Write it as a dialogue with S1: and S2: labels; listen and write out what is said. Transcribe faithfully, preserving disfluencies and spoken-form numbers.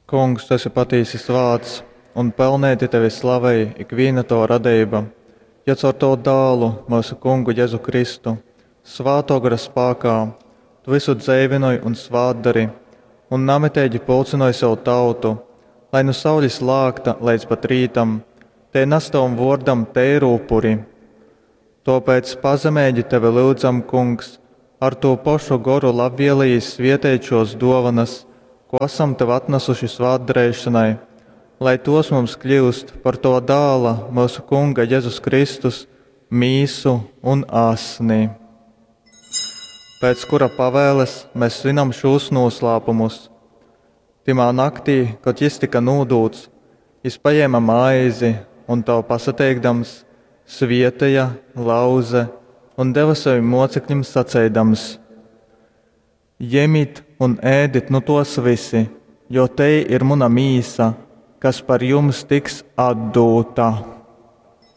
S1: Kungs, tu esi patīsi svāts, un pelneiti tevi slavej ikvīna tova radeiba, jo caur tovu Dālu, myusu Kungu Jezu Kristu, Svātō Gora spākā, tu vysu dzeivynoj un svātdori, un namiteigi pulcynoj sev tautu, lai nu saulis lākta leidz pat rītam tei nas tovam vōrdam teiru upuri. Tōpēc pazemeigi tevi lyudzam, Kungs, ar tū pošu Goru labvielejīs svieteit šōs dōvonas, kū asam tev atnasuši svātdareišonai, lai tōs mums kļyust par tova Dāla, myusu Kunga Jezus Kristus, mīsu un asni. Pēc kura pavēles mēs svinam šūs nūslāpumus. Tymā naktī, kod jys tyka nūdūts, jys pajēma maizi un, tev pasateikdams, svieteja, lauze un deva savim mocekļim saceidams: Jemit un ēdit nu tōs vysi, jo tei ir muna mīsa, kas par jums tiks atdūta.